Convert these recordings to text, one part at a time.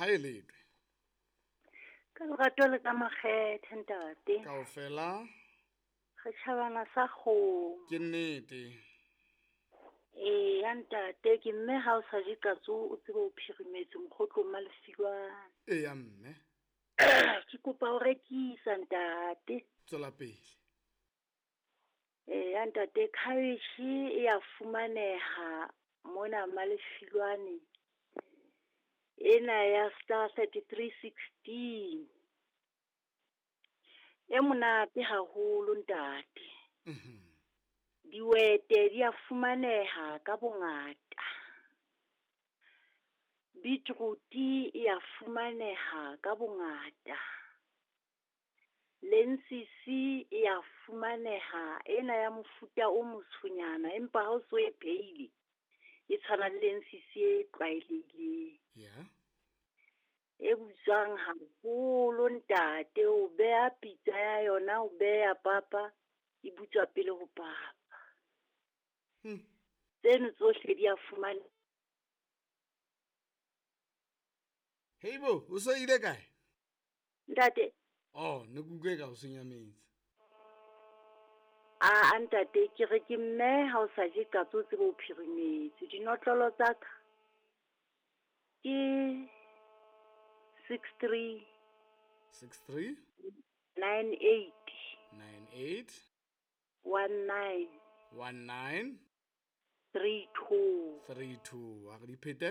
Ha e letwe. Ka lerato le ka makgethe ntate. Kaofela. Re tjhabana sa kgomo. Ke nnete. Ee, ya ntate ke mme ha o sa je katso o tsebe o phirimetse mokgotlong malefilwane. Ee ya mme. Ke kopa ho rekisa ntate. Tswela pele. Ee ya ntate cabbage e ya fumaneha mona Malefilwane. Ena ya star 3316. E monate haholo ntate. Dihwete di a fumaneha ka bongata. Beetroot e a fumaneha ka bongata. Lensisi e a fumaneha ena ya mofuta o motshonyana empa ha o so e phehile e tshwana le lensisi e tlwaelehileng. Yeah. E butswang haholo ntate, o beha pitsa ya yona, o beha papa, e butswa pele ho papa. Tseno tsohle di a fumane. Heibo, o so ile kae? Ntate. Oh, ne ke utlwe ka o senya metsi. A ntate, ke re ke mme ha o sa je katso o tsebe o phirimetse. Dinotlolo tsa ka ke 63 63 98 98 19 19 32 32. A re di phete?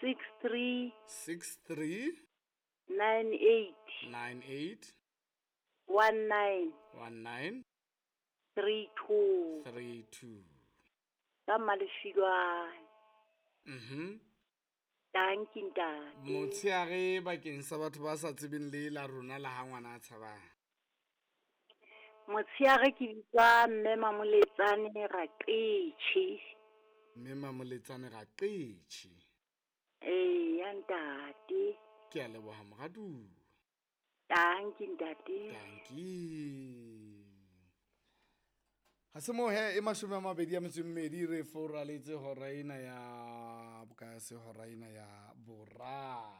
63 63 98 98 19 19 32. 32. Ka Malefilwane. Dankie ntate. Motsheare bakeng sa batho ba sa tsebeng le la rona la ha ngwana a tshabang. Motsheare ke bitswa mme Mamoletsane Raqetjhe. Mme Mamoletsane Raqetjhe. Ee, ya ntate. Ke a leboha moratuwa. Dankie ntate. Dankie. Ha se moo he e 22 re foraletse hora ena ya boka se hora ena ya boraro.